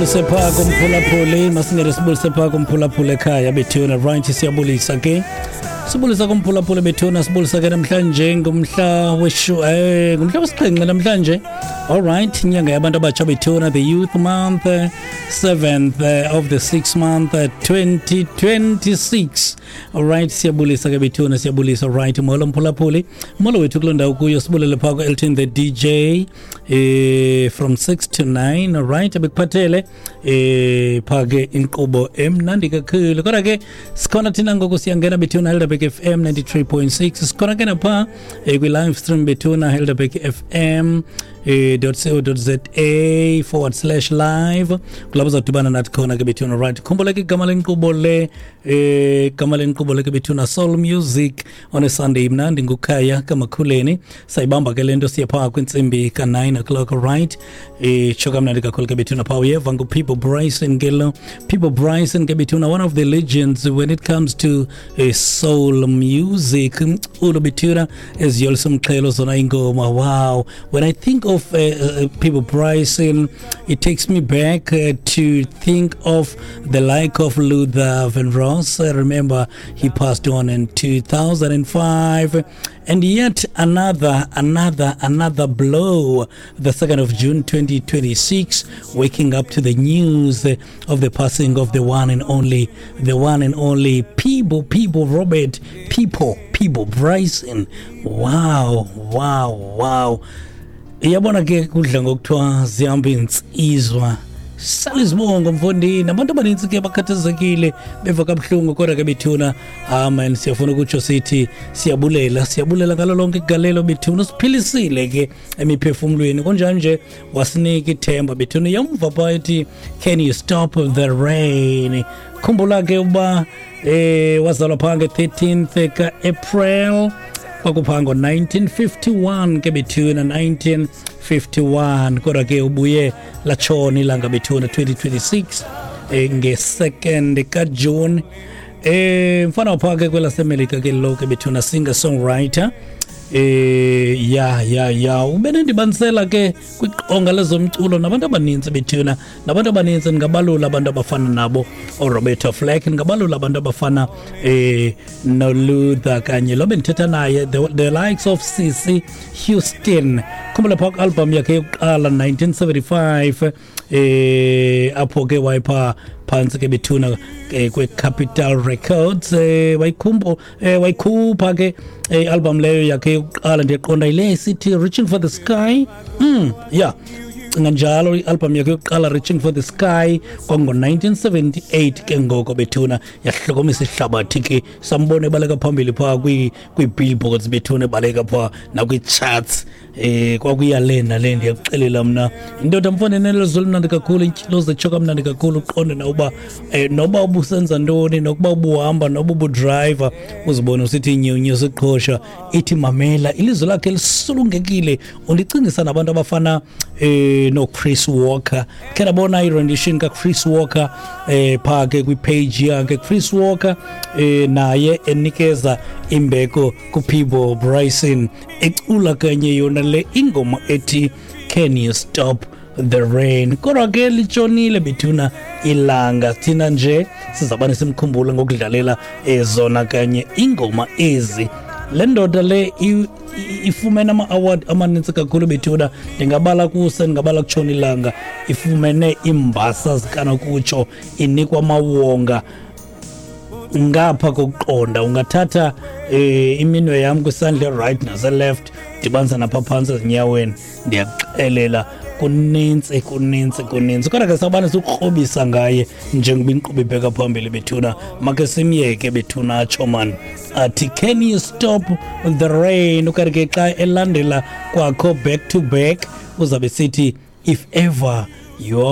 Sepha kumphulaphuli, masingene sibulise phaa kumphulaphuli ekhaya bethuna. Right, siyabulisa ke, sibulisa kumphulaphuli bethuna. Sibulisa ke namhlanje ngumhla weshu ngumhla wesixhenxe namhlanje. All right, inyanga yabantu abatsha bethuna, the youth month, 7th of the 6th month, 2026. Alright, siyabulisa ke bethuna, siyabulisa. Right, molo mphulaphuli, molo wethu kuloo ndawo kuyo. Sibulele phaa ku-Elton the DJ from 6 to 9. Alright, abekuphathele phaa ke inkqubo emnandi kakhulu. Kodwa ke sikhona thina ngoku, siyangena bethuna, Helderberg FM 93.6. Sikhona ke naphaa kwi-live stream bethuna, Helderberg FM .co.za/live, kulapho uzawudibana nathi khona ke bethuna. Right, khumbula ke igama lenkqubo le, igama lenkqubo le ke bethuna, Soul Music on a Sunday. Mnandi ngukhaya kamakhuleni, sayibamba ke le nto, siye phaa kwintsimbi ka-9 o'clock. Right, tsho kamnandi kakhulu ke bethuna. Phaa uyeva nguPeabo Bryson ke lo. Peabo Bryson ke bethuna, one of the legends when it comes to soul music, umculo bethuna eziyolisa umxhelo zona ingoma. Wow, when I think of Peabo Bryson, it takes me back to think of the like of Luther Vandross. I remember he passed on in 2005, and yet another blow, the 2nd of June 2026, waking up to the news of the passing of the one and only, the one and only Peabo, Peabo Robert, Peabo, Peabo Bryson. Wow. Iyabona ke, kudla ngokuthiwa zihamba iinsizwa sala izibongo mfondini. Abantu abanintsi ke bakhathazekile, beva kabuhlungu. Kodwa ke bethuna, amen, siyafuna ukutsho sithi siyabulela, siyabulela ngalo lonke igalelo bethuna. Siphilisile ke emiphefumlweni, kunjani nje wasinika ithemba bethuna. Yamva phaa ethi "Can You Stop the Rain?" Khumbula ke uba wazalwa phaa nge-13th ka-April, kwakuphaa ngo-1951 ke bethuna, 1951. Kodwa ke ubuye latshona ilanga bethuna, 2026, nge-2nd kaJuni. Mfana waphaa ke kwelaseMelika ke lo ke bethuna, singer songwriter. Ya, ube nendibanisela ke kwiqonga lezomculo nabantu abaninzi bethuna, nabantu abaninzi. Ndingabalula abantu abafana nabo oRoberta Flack, ndingabalula abantu abafana noLuther kanye lo bendithetha naye, the likes of Cissy Houston. Khumbula phaa kwi-album yakhe yokuqala 1975, apho ke wayepha phantsi ke bethuna kwe-Capitol Records, wayikhumbo wayikhupha ke i-album leyo yakhe yokuqala. Ndiyaqiqonda yile sithi "Reaching for the Sky". Yeah, cinga njalo, i-album yakhe yokuqala "Reaching for the Sky" kwango-1978 ke ngoko bethuna. Yahlokomisa ihlabathi ke, sambona ebaleka phambili phaa kwii-billboards bethuna, ebaleka phaa nakwii-charts. Kwakuya le nale. Ndiyakuxelela mna, indoda mfane nelizwi limnandi kakhulu, intyilo zetsho kamnandi kakhulu. Uqonde noba noba ubusenza ntoni, nokuba ubuhamba, noba ubudrayiva, uzibone usithi nyunyu siqhosha ithi mamela ilizwi lakhe lisulungekile. Undicingisa nabantu abafana noChris Walker. Khe ndabona i-rendition kaChris Walker phaa ke kwipage yakhe Chris Walker, naye enikeza imbeko kuPeabo Bryson, ecula kanye yona le ingoma ethi "Can You Stop the Rain?" Kodwa ke litshonile bethuna ilanga, thina nje sizabane simkhumbule ngokudlalela ezona kanye ingoma ezi. Le ndoda le ifumene ama-award amanintsi kakhulu bethuna. Ndingabala kuse, ndingabala kutshona ilanga. Ifumene iimbasa zikanokutsho, inikwa amawonga ngapha kokuqonda. Ungathatha iminwe yam kwisandla right nase-left, dibanisa napha phantsi ezinyaweni, ndiyakuxelela kunintsi, kunintsi, kunintsi. Kodwa ke sawubane sikukrobisa ngaye njengoba inkqubo ibheka phambili bethuna. Make simyeke bethuna atsho man, athi "Can You Stop the Rain?" Ukanti ke xa elandela kwakho back to back, uzabe sithi "If Ever You".